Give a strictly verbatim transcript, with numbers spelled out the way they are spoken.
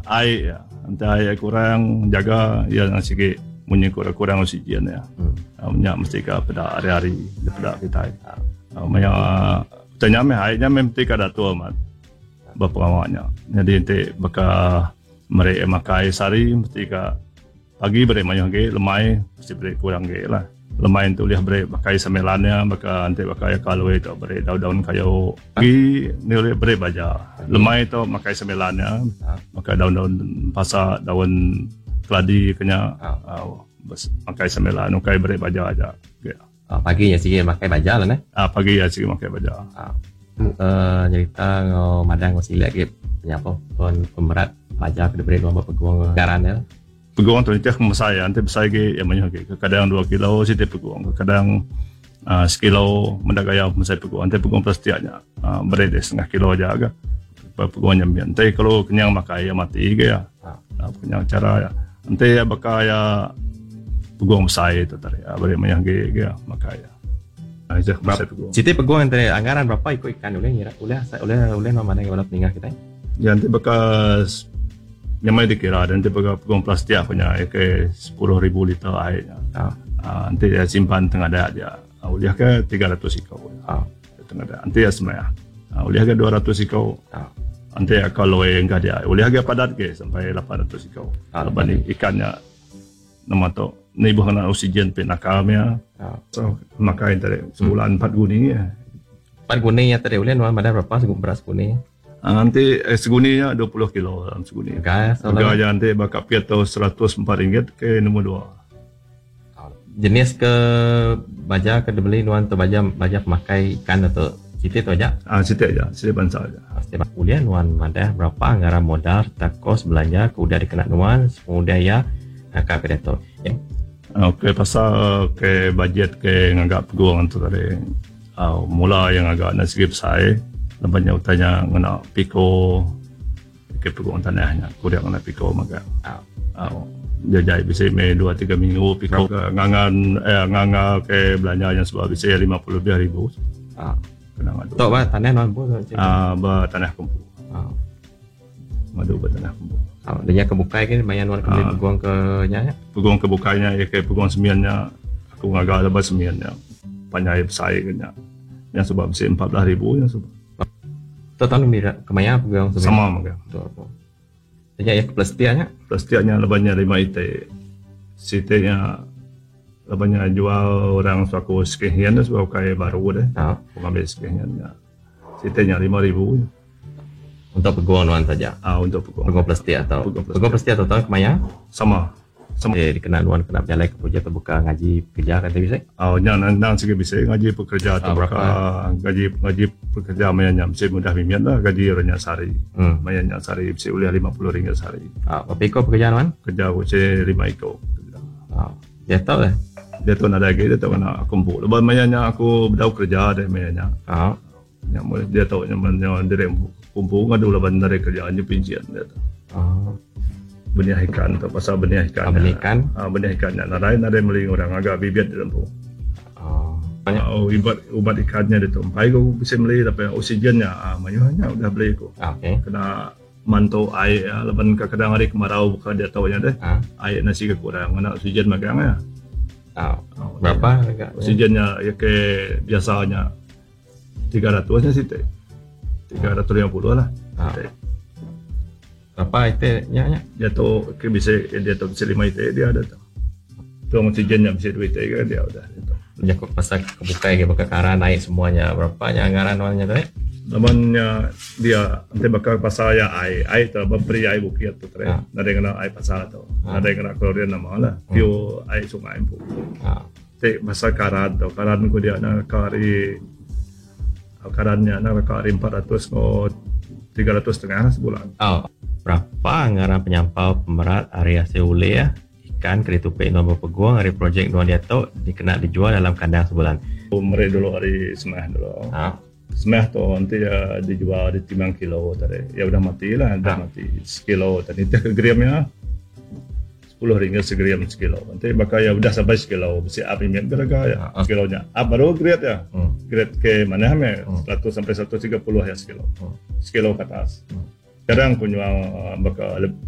Ai iya. Enti ai kurang jaga iya nang sigi munyi ku kurang oksigen iya. Hmm. Nya mesti ka peda hari-hari dipeda kitai. Maya utai nya meh ai nya meh mesti ka datur amat ba pengawa nya. Nyadi enti baka meri makai sehari mesti ka pagi beri mayuh agi lemai mesti beri kurang agi lah. Lemai enti ulih beri makai semilan iya baka enti baka iya kalui tu beri daun-daun kayu. Pagi enti ulih beri baja. Lemai tu makai semilan iya baka daun-daun pasa daun keladi ke nya makai semilan ukai beri baja aja. Pagi iya sigi makai baja lah neh. Pagi iya sigi makai baja. Uhh nyerita enggau madah enggau silik agi penyampau pemerat baja ke diberi nuan ba pegung ngaran iya. Pegung tu nitih pemesai iya enti besai agi iya mayuh agi kadang dua kilo siti pegung kadang uhh sekilo meda gaya pemesai pegung enti pegung plastik nya uhh beri deh setengah kilo aja ga pegung nya min enti kalau kenyang makai iya mati ga iya uhh kenyang cara iya enti iya baka iya pegung besai tu tadi beri mayuh agi ga makai iya. Siti pegung enti anggaran berapa iku ikan ulih ngira ulih ulih ulih nuan madai bala peningah kitai. Ya enti baka nyamai dikira enti baka pegung plastik ku nya ke sepuluh ribu liter ai nya. Aaa enti iya simpan tengah dia ulih ke tiga ratus iko tengah dia enti iya semaya ulih ke dua ratus iko enti iya kaloi engka dia ulih agi padat agi sampai lapan ratus iko laban ikan nya nama tu nibuh ngena oksigen ti naka mia so makai tadi sebulan empat guni. Empat guni nya tadi ulih nuan madah berapa berat seguni. Enti seguni nya dua puluh kilo dalam seguni. Rega iya enti ba kapit tu seratus empat ringgit ke nombor dua. Jenis ke baja ke dibeli nuan tu baja baja pemakai ikan tu siti tu aja? Aa siti aja, siti bansa aja. Ulih nuan madah berapa anggaran modal sereta kos belanja ke udah dikena nuan sepengudah iya naka ke diatu. Okey pasal ke bajet ke ngaga pegung tu tadi aaa mula iya ngaga ne sigi besai. Laban nya utai nya ngena piko ke pegung tanah nya kuring ngena piko mega. Au jajai bisi meh dua tiga minggu piko ke ngangan eh nganga ke belanja nya suba bisi lima puluh lebih ribu. Kena ngadu. Tok ba tanah nuan empu tu? Aaa ba tanah ku empu. Ngadu ba tanah ku empu. Au nya ke bukai ke maya nuan ke meli pegung ke nya nya? Pegung ke bukai nya ke pegung semin nya aku ngaga laban semin nya panjai besai ke nya. Nya suba bisi empat belas ribu nya suba. Tu tahun mira kemaya pegang semin. Sama mega. Tu apa. Nya iya ke plastik nya. Plastik nya laban nya lima iti. Siti nya laban nya jual orang suaku second hand sebab ukai baru deh. Ha. Ngambil second hand nya. Siti nya lima ribu. Untuk peguang nuan saja. Ah untuk peguang. Peguang plastik atau peguang plastik atau tahun kemaya? Sama. Sama. Eh dikena nuan kena bejalai ke projek tauka ngaji pekerja kati bisi? Oh nya endang sigi bisi ngaji pekerja Ah, tauka berapa? gaji gaji pekerja maya nya bisi mudah mimit lah gaji ira nya sehari. Hmm. Maya nya sehari bisi ulih lima puluh ringgit sehari. Ah, berapa iko pekerja nuan? Kerja aku bisi lima iko pekerja. Ah, diatu leh? Diatu nadai agi diatu ngena aku empu. Laban maya nya aku bedau kerja deh maya nya. Ah. Nya meh diatu nya men nya diri empu empu ngadu laban nadai kerja nya pinchin diatu. Ah. Benih ikan tu pasal benih ikan. Ah, benih ikan. Ah, benih ikan nya nadai nadai meli orang ngaga bibit diri empu. Ah. Oh, ubat ubat ikan nya ditu empai ku bisi meli tapi oksigen nya ah mayuh nya udah beli ku. Ah, okey. Kena mantu ai laban kadang hari kemarau baka diatu nya deh. Ah. Ai enda siga kurang ngena oksigen magang iya. Ah. Berapa harga? Oksigen nya iya ke biasa nya tiga ratus nya siti. Tiga ratus lima puluh lah. Ah. Siti. Berapa iti nya nya? Diatu ke bisi diatu bisi lima iti dia diatu. Tong oksigen nya bisi dua iti ga dia udah diatu. Jaku pasal ke bukai ke baka karan ai semua nya berapa nya anggaran nuan nya tadi? Laban nya dia enti baka pasal iya ai, ai tu beri ai bukit tu tadi. Ha. Nadai ngena ai pasar tu. Ha. Nadai ngena klorin nama lah. Pure ai sungai empu. Ha. Ti pasal karan tu, karan ku dia naka ari karan nya naka ari empat ratus enggau tiga ratus setengah lah sebulan. Oh. Berapa ngaran penyampau pemerat ari asil ulih ikan ke ditupi nuan bepegung ari projek nuan diatu dikena dijual dalam kandang sebulan? Meri dulu ari semah dulu. Ha. Semah tu enti iya dijual ditimbang kilo tadi. Iya udah mati lah, udah Ha. mati sekilo tadi. Nitih ke gram iya sepuluh ringgit segram sekilo. Enti baka iya udah sampai sekilo bisi up mimit ga rega iya. Ha. Sekilo nya up baru grade iya. Hmm. Grade ke manah meh Hmm. seratus sampai seratus tiga puluh iya sekilo. Hmm. Sekilo ke atas. Hmm. Kadang ku nyual baka